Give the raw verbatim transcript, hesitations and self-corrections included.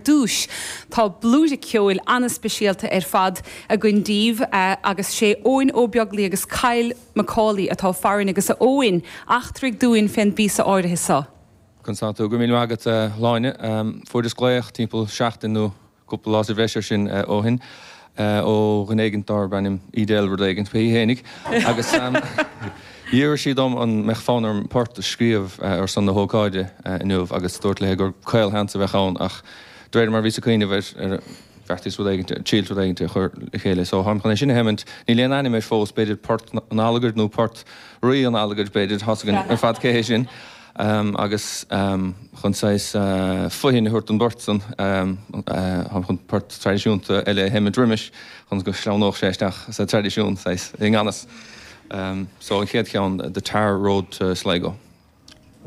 dtús, tá blúire ceoil an-speisialta ar fad againn daoibh agus sé Eoin Ó Beaglaoi agus Kyle McCauley atá farainn agus a Eoin eachtraigh dúinn fén bpíosa áirithe seo. Conas tá tú go míle maith agat Sláine. Fuaireas glaoch timpeall seachtain nó cúpla lá sa bhreis ar sin ó shin ó dhuine éigin darb ainm Edel rud éigin pé héinig agus d'iarr sí dom an mbeadh fonn orm port a scríobh ar son na hócáide inniu agus dúirt léi gur caolsheans a bheadh ann ach de réir mar bhíos ag cuimhneamh air bheartaíos rud éigin triail rud éigin a chur le chéile. So táim chun é sin a sheimint níl aon ainm air fós b'fhéidir port an Allagaid nó port Rí an Allagaid b'fhéidir tá a fhios againn ar fad cé hé sin. Um, agus um, chun saghas uh, fothain a thabhairt don bport san um, uh, chun port traidisiúnta eile a sheimint roimis chun go sleamhnódh sé isteach sa traidisiún saghas i ngan fhios. Um, so an chéad cheann the Tar Road to Sligo.